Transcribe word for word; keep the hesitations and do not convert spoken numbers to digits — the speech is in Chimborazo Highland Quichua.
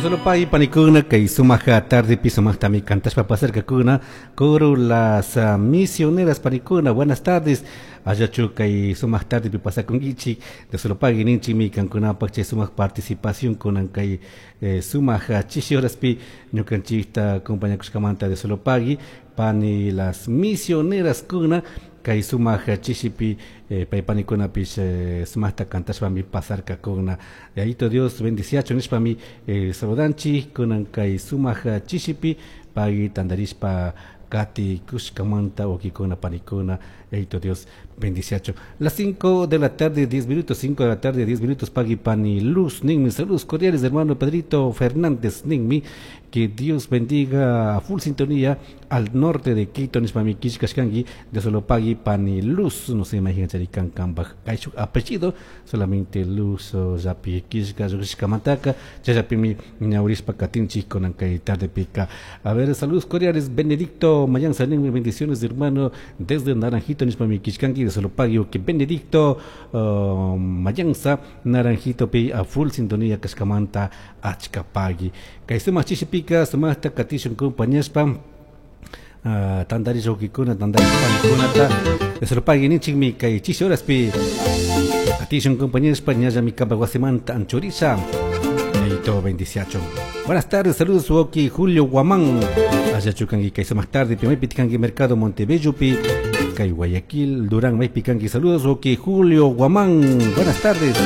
Solo pay panikuna kay sumaq tardepi sumaqtami kantashpa pasarkakuna coro las uh, misioneras panikuna. Buenas tardes, allachu kay sumaq tardepi pasakunkichik. De solo pagui ninchikmi kankunapaq chay sumaq participación kunan kay eh, sumaq chishi horaspi ñukanchikta acompañakushkamanta. De solo pagui pani las misioneras kuna kay sumaq chishipi eh, pay panikunapish eh, sumaqta kantashpami pasarkakuna. Yayito Dios bendiciachu nishpami eh, saludanchik kunan kay sumaq chishipi pagui tandarishpa kati kushkamanta wawkikuna panikuna. Yayito Dios bendiciachu. Las cinco de la tarde diez minutos, cinco de la tarde diez minutos. Pagui pani Luz ninmi, saludos cordiales, hermano Pedrito Fernández ninmi, que Dios bendiga a full sintonía al norte de Quito nishpami kishkashkanki. De solo pagui pani Luz, no se imaginan charikan kanpaj kayshuk apellido, solamente Luz llapi kishka lluqshishkamantaka chayllapimi ñawrishpa katinchik kunan kay tardepika. A ver, saludos cordiales, Benedicto Mayanza ninmi, bendiciones, hermano, desde Naranjito nishpami kishkanki. De solo pagui que Benedicto uh, Mayanza Naranjito pi a full sintonía kashkamanta achka pagui. Kay sumaq chishipika sumaqta katishun compañashpa uh, tantarish wawkikuna, tantarish panikunata. De solo pagui ninchikmi kay chishi horaspi katishun compañashpa ñallami kampak wasimanta anchurisha. Yayito bendiciacho. Buenas tardes, saludos wawki Julio Guamán. Allachu kanki kay sumaq tarde pi maypi kanki Mercado Montebello pi kay Guayaquil Durán maypi kanki. Saludos wawki Julio Guamán. Buenas tardes.